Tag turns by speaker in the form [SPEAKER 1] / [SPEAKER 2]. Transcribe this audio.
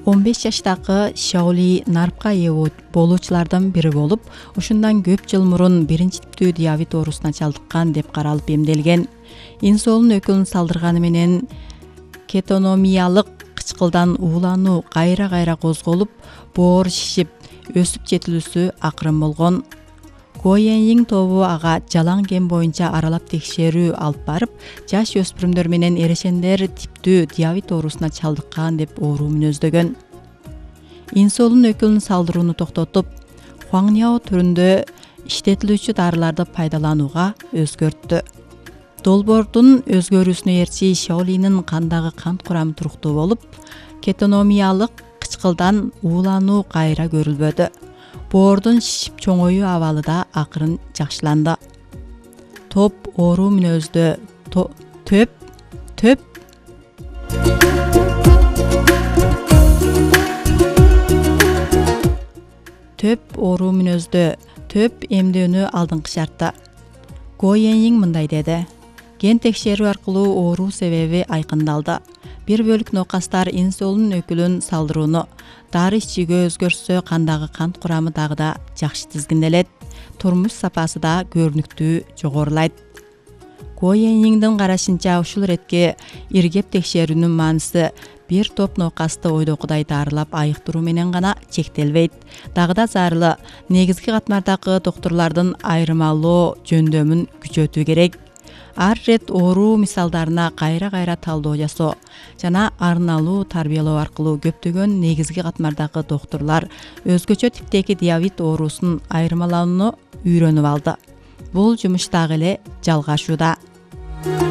[SPEAKER 1] 15 жаштагы Шаоли нарпка ээ болуучулардан бири болуп, ушундан көп жыл мурун биринчи типтүү диабет оорусуна чалдыккан деп каралып эмделген. Инсулин өкүлүн салдырганы менен кетономиялык кычкылдан уулануу кайра козголуп, боор шишип, өсүп жетилүүсү акырын болгон. Гояньин тобу ага жалаң ген боюнча аралап текшерүү алып барып, жаш өспүрүмдөр менен эрешендер типтүү диабет оорусуна чалдыккан деп оору мүнөздөгөн. Инсулин өкүлүн салдырууну токтотуп, хуаңняо түрүндө иштетилүүчү дарыларды пайдаланууга өзгөрттү. Долбоордун өзгөрүүсүнө ээрчи Шаолинин кандагы кант курамы туруктуу болуп, кетономиялык кычкылдан уулануу кайра көрүлбөдү. Боордун шишип чоңоюу абалы да акырын жакшыланды. Топ оору мүнөздө төп эмдөөнү алдыңкы шартта. Гояньин мындай деди: ген текшерүү аркылуу оору себеби айкындалды. Бир бөлүк нокастар инсулин өкүлүн салдырууну, дары ичүүгө өзгөртсө, кандагы кант курамы дагы да жакшы тизгинделет, турмуш сапасы да көрүнүктүү жогорулайт. Гояньиндин карашынча, ушул иретке иргеп текшерүүнүн мааниси бир топ нокасты ойдогудай дарылап айыктыруу менен гана чектелбейт. Дагы да зарыл негизги катмардагы доктурлардын айырмалоо жөндөмүн күчөтүү керек. Ар рет оору мисалдарына кайра талдоо жасоо жана арналуу тарбиялоо аркылуу көптөгөн негизги катмардагы доктурлар өзгөчө типтеги диабет оорусун айырмалоону үйрөнүп алды. Бул жумуш дагы эле жалгашууда.